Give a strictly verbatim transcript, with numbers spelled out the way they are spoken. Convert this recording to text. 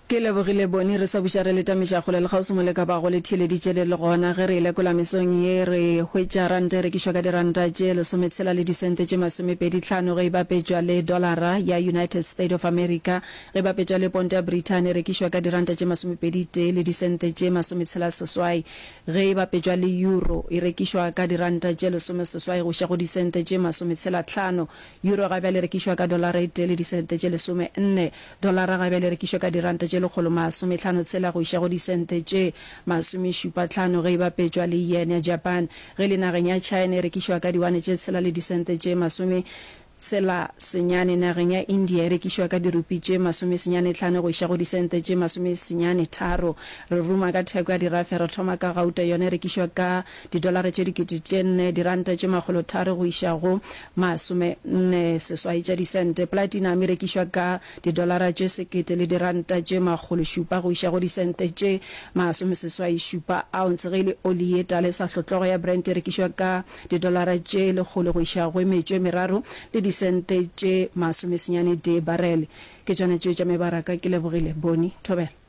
Ke lebogile Boni, re sa buša re le tamiša kgole le kgauswi mo le ka bago le theeleditše le le gona. Ge re e lekola mesong ye, re hwetša ranta e rekišwa ka diranta tše lesometshela le disente tše masomepedi tlhano ge e bapetšwa le dolara ya United State of America. Ge e bapetšwa le ponto ya Brithani e rekišwa ka diranta tše masomepedi tee le disente tše masometshela seswai. Ge e bapetšwa le euro e rekišwa ka diranta tše lesomeseswai go iša go disente tše masometshela tlhano. Euro ga bjale e rekišwa ka dolara e tee le disente tše lesome nne. Dolara ga bjale e rekišwa ka diranta tše lekgolo masometlhano tshela go iša go disente tše masomešupa tlhano ge e bapetšwa le yen ya Japan. Ge e le nageng ya China e rekišwa ka diwane tše tshela le disente tše masome tshela senyane. Nageng ya India e rekišwa ka dirupi tše masome senyane tlhano go iša go disente tše masome senyane tharo. Re ruma ka theko ya dirafe, re thoma ka gauta, yona e rekišwa ka didolara tše dikete tše nne, diranta tše makgolo tharo go iša go masome nne seswai tša disente. Platinum e rekišwa ka didolara tše sekete le diranta tše makgolo šupa go iša go disente tše masome seswai šupa ounce. Ge e le oli ye tala e sa hlotlogo ya Brent e rekišwa ka didolara tše lekgolo go iša go metšo e meraro le disente tše masomesenyane tee barele. Ke tšona tšeo tša mebaraka. Ke lebogile. Boni. Thobela.